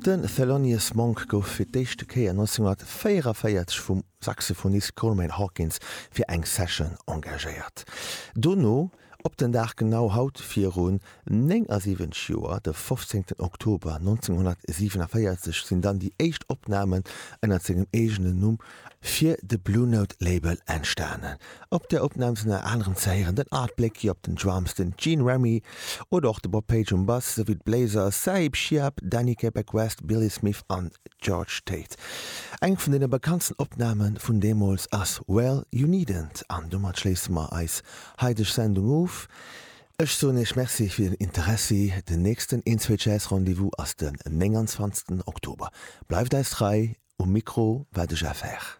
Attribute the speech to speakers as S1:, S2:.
S1: De Thelonious Monk gouf fir d'éischte Kéier 1944 vum Saxophonist Coleman Hawkins fir eng Session engagéiert. Dono, op den Dag genau haut virun 79 Joer, de 15 Oktober 1947, sinn dann déi éischt Opnamen ënnert sengem eegenen Numm fir de Blue Note Label entstanen. Op där Opnam sinn ënner anerem ze héieren den Art Blakey op den Drums, den Gene Remy oder och de Bob Page um Bass, souwéi d'Bléiser Sahib Shihab, Danny Quebec West, Billy Smith an George Tate. Eng vun deene bekanntsten Opname vun deemools ass Well You Needn't an domat schléisse mer eis haideg Sendung of. Ech soen Iech Merci fir den Interessi. Den nächsten Een-Zwee-Jazz-Rendez-vous ass den 29. Oktober. Bleift eis trei, um Mikro war de Jeff Herr.